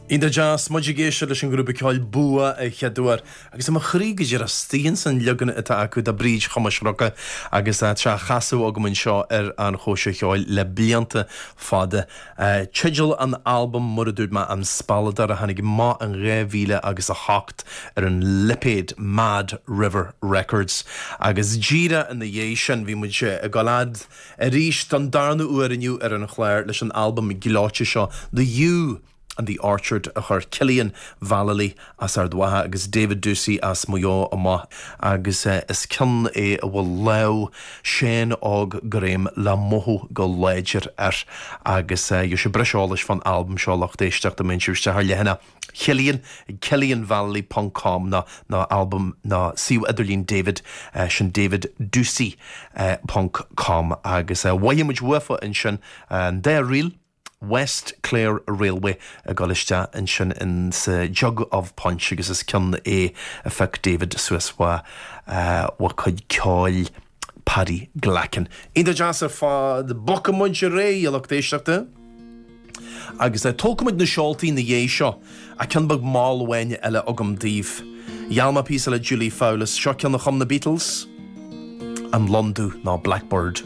Iontach deas, muid ag éisteacht leis an ghrúpa ceoil Bua a chéaduair agus i mo chroí go díreach istigh ins an leagan atá acu de Bríd Thomáis Rua agus tá á chasadh agam anseo ar an Chóisir Cheoil le blianta fada. Teideal an albaim, mar a dúirt mé, An Spealadóir a tháinig amach in 2000 agus 8 ar an lipéad Mad River Records agus díreach ina dhiaidh sin bhí muid ag dul fhad arís don darna huair inniu ar an chlár leis an albam gleoite seo The Yew and the Orchard a chuir Cillian Vallely as Ard Mhacha agus David Doocey as Maigh Eo amach agus is ceann é a bhfuil lámh Seán Óg Graham le mothú go láidir air agus gheobhaidh sibh breis eolais fán albam seo lucht éisteachta má théann sibh isteach ar leathanach Chillian ag cillianvallely ponc com nó nó albam nó suíomh idirlín David sin daviddoocey ponc com agus mhothaigh muid uafa ansin an dá ríl West Clare Railway ag dul isteach ansin in sa Jug of Punch agus is ceann é a phioc David suas ó ó chuid ceoil Paddy Glackin. Iontach deas ar fad. Bogfaidh muid ar aghaidh, a lucht éisteachta. Agus tógfaidh muid na seoltaí ina dhiaidh seo, ach ceann beag mall amháin eile agam daoibh. Gheall mé píosa le Julie Fowlis. Seo ceann a chum na Beatles, An Lon Dubh nó Blackbird.